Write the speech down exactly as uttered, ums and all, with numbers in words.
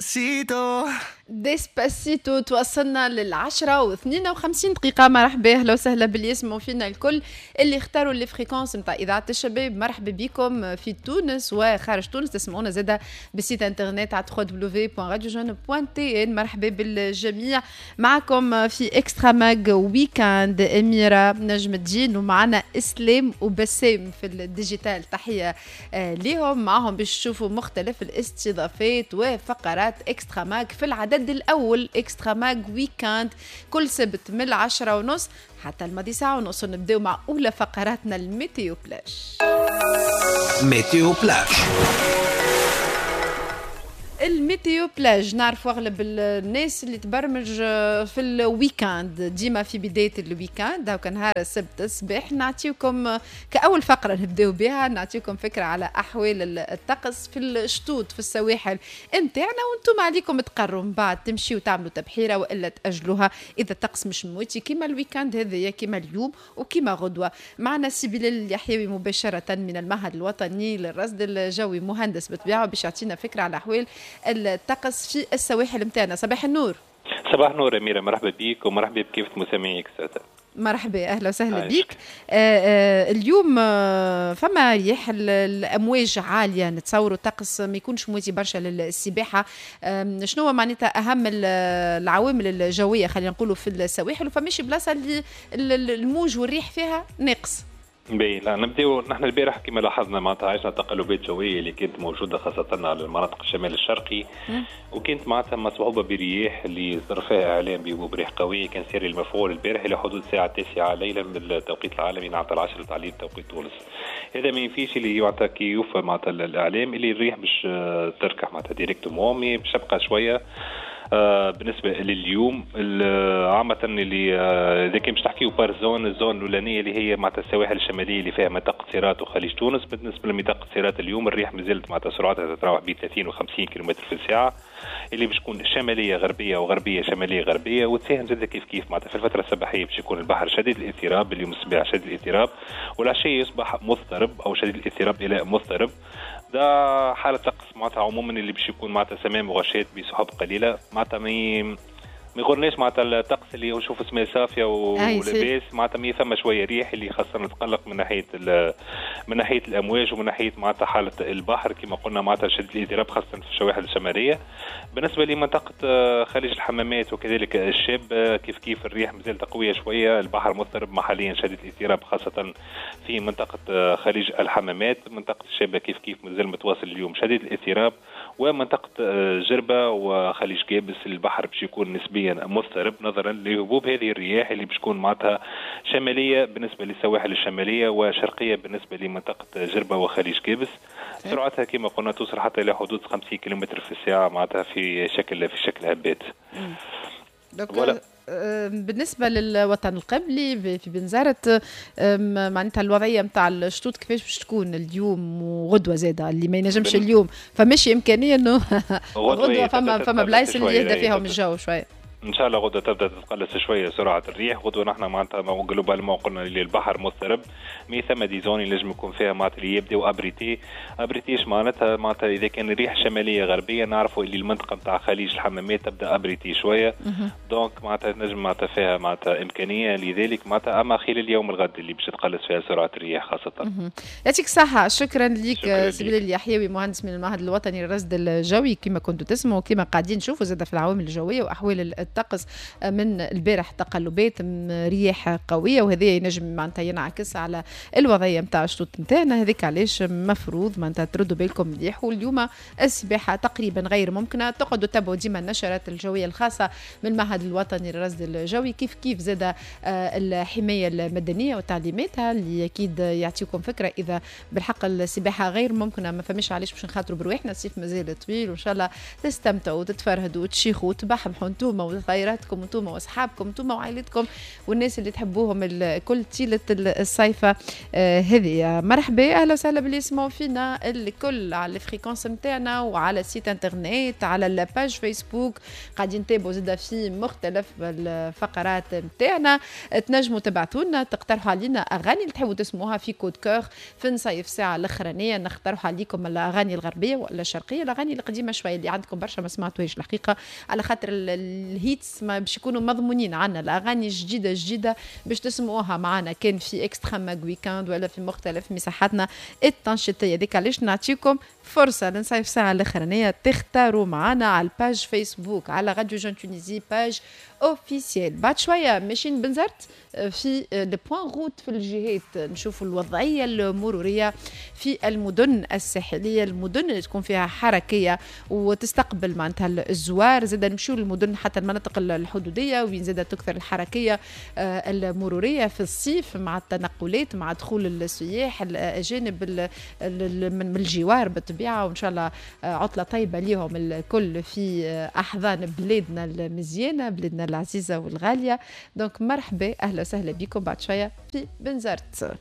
Despacito. Despacito توصلنا للعشرة واثنين وخمسين دقيقة. مرحبا، أهلا وسهلا باللي يسمعوا فينا الكل اللي اختاروا les fréquences نتاع إذاعة الشباب. مرحبا بكم في تونس وخارج تونس، تسمعونا زادة بال site internet على www.radiojeune.tn. مرحبا بالجميع، معكم في Extra Mag Weekend أميرة نجم الدين، ومعنا إسلام وبسام في ال digital. تحية آه، ليهم، معهم باش تشوفوا مختلف الاستضافات وفقرات Extra Mag في العدد الأول Extra Mag Weekend كل سبت من العشرة ونص حتى الماضي ساعة ونص. نبداو مع أولى فقراتنا ال météo flash. météo flash. ال météo plage، نعرف اغلب الناس اللي تبرمج في ال week-end، ديما في بداية ال week-end هاكا نهار السبت الصباح نعطيكم كاول فقره نبداو بها، نعطيكم فكرة على احوال الطقس في الشطوط في السواحل نتاعنا، وانتم عليكم تقروا من بعد تمشيو تعملوا تبحيره والا تاجلوها اذا الطقس مش مواتي كيما ال week-end هذايا، كيما اليوم وكيما غدوه. معنا سي بلال اليحيوي مباشرة من المعهد الوطني للرصد الجوي، مهندس بالطبيعه، باش يعطينا فكرة على احوال الطقس في السواحل نتاعنا. صباح النور. صباح النور أميرة، مرحبا بك ومرحبا بكافة مستمعيك. مرحبا، اهلا وسهلا بك. آه آه اليوم آه فما ريح، الامواج عاليه، نتصوروا الطقس ما يكونش مواتي برشا للسباحه. آه شنو معناتها اهم العوامل الجوية خلينا نقولوا في السواحل، وفماش بلاصة اللي الموج والريح فيها ناقص؟ باهي، لا نبداو نحن البارح كما لاحظنا معناتها عشنا تقلبات جوية اللي كانت موجودة خاصة على المناطق الشمال الشرقي، وكانت معناتها مصحوبه برياح اللي صدر فيها اعلام بريح قوية كان ساري المفعول البارح الى حدود الساعة التاسعة ليلا بالتوقيت العالمي، معناتها العشرة تاع الليل توقيت تونس. هذا ما ينفيش اللي معناتها كي يوفى معناتها الاعلام اللي الريح باش تركح معناتها directement، باش تبقى شوية. آه بالنسبة لليوم عامة اللي آه، اذا كان باش نحكيو par zone، ال zone الاولانية اللي هي معناتها السواحل الشمالية اللي فيها منطقة سيرات وخليج تونس. بالنسبة لمنطقه سيرات اليوم الريح مازالت معناتها سرعتها تتراوح بين ثلاثين و خمسين كيلومتر في الساعه، اللي باش تكون شمالية غربية وغربيه شمالية غربيه، وتساهم زاد كيف كيف معناتها في الفترة الصباحية باش يكون البحر شديد الاضطراب اليوم الصباح شديد الاضطراب، والعشيه يصبح مضطرب او شديد الاضطراب الى مضطرب. ده حالة طقس معناتها عموما اللي باش يكون معناتها سماء مغشاة بسحب قليلة، معناتها ما ما يغرناش معناتها الطقس اللي نشوف سماء صافية ولاباس، معناتها mais ثم شوية ريح اللي خاصة نتقلق من ناحية من ناحية الامواج ومن ناحية معناتها حاله البحر كما قلنا معناتها شده الاضطراب خاصة في السواحل الشمالية. بالنسبة لمنطقه آه، خليج الحمامات وكذلك الشاب آه، كيف كيف الريح مازالت قوية شويه، البحر مضطرب محليا شديد الاضطراب خاصة في منطقة آه، خليج الحمامات. منطقة الشابة كيف كيف مازال متواصل اليوم شديد الاضطراب، ومنطقة جربه وخليج قابس البحر باش يكون نسبيا مضطرب نظرا لهبوب هذه الرياح اللي باش تكون معناتها شمالية بالنسبة للسواحل الشمالية وشرقيه بالنسبة لمنطقه جربه وخليج قابس. سرعتها كما قلنا توصل حتى الى حدود خمسين كيلومتر في الساعة معناتها في شكل في شكل هبات. voilà. بالنسبة للوطن القبلي في بنزرت، معناتها الوضعية نتاع الشطوط كيفاش باش تكون اليوم وغدوه زاده؟ اللي ما ينجمش اليوم فماشي امكانية انه غدوه فما فما بلايص اللي يهدى فيهم الجو شوية؟ ان شاء الله غدوه تبدا تتقلص شوية سرعة الريح. غدوه نحن معناتها globalement قلنا اللي البحر مضطرب، mais ثم des zones اللي لازم يكون فيها معناتها اللي يبداو abrités. abrités معناتها معناتها اذا كان الريح شمالية غربية نعرفوا اللي المنطقة نتاع خليج الحمامات تبدا abritée شويه، donc معناتها نجم معناتها فيها معناتها امكانية لذلك معناتها، اما خلال اليوم الغد اللي باش تقلص فيها سرعة الرياح خاصه. يعطيك الصحه، شكرا لك سي بلال اليحيوي، مهندس من المعهد الوطني للرصد الجوي. كما كنتوا تسمعوا كما قاعدين نشوفوا زاد في العوامل الجوية واحوال الطقس من البارح تقلبات رياح قويه، وهذا ينجم معناتها ينعكس على الوضعية نتاع الشطوط نتاعنا. هذيك علاش مفروض معناتها تردوا بالكم مليح، واليوم السباحة تقريبا غير ممكنه. تقعدوا تتابعوا ديما النشرات الجوية الخاصة من المعهد الوطني للرصد الجوي، كيف كيف زاد آه، الحماية المدنية وتعليماتها اللي اكيد يعطيكم فكرة اذا بالحق السباحة غير ممكنه. ما فماش علاش باش نخاطروا برواحنا، الصيف مازال طويل، وان شاء الله تستمتعوا وتتفرهدوا وتشيخوا وتبحبحوا انتوما. صغيراتكم انتم واصحابكم انتم وعائلتكم والناس اللي تحبوهم الكل طيلة الصيفه آه، هذه. مرحبا، اهلا وسهلا باللي يسمعوا فينا الكل على ال fréquence نتاعنا وعلى site internet، على ال page Facebook، قاعدين نتابعوا زاده في مختلف الفقرات نتاعنا. تنجموا تبعثوا لنا، تقترحوا علينا اغاني اللي تحبوا تسمعوها في coup de cœur في نصيف ساعة الاخرانيه. نقترحوا عليكم الاغاني الغربية ولا الشرقيه، الاغاني القديمة شوية اللي عندكم برشا ما سمعتوهاش الحقيقه، على خاطر ال hits ما باش يكونوا مضمونين عندنا. الاغاني الجديدة الجديدة باش تسمعوها معنا كان في Extra Mag Weekend ولا في مختلف مساحاتنا التنشيطيه. هذيك علاش نعطيكم فرصة لنصيف ساعة الاخرانية تختاروا معنا على ال page Facebook، على Radio Jeune Tunisie page officielle. بعد شوية ماشيين بنزرت في le point route في الجهات، نشوفوا الوضعية المرورية في المدن الساحليه، المدن اللي تكون فيها حركية وتستقبل معناتها الزوار. زاد نمشيو للمدن حتى المناطق الحدوديه وين زاد تكثر الحركية آه، المرورية في الصيف مع التنقلات، مع دخول السياح الاجانب من الجوار بالطبيعه. وان شاء الله آه، عطله طيبة ليهم الكل في احضان بلادنا المزيانه، بلادنا العزيزة والغاليه. donc مرحبا، اهلا وسهلا بكم بعد شوية في بنزرت.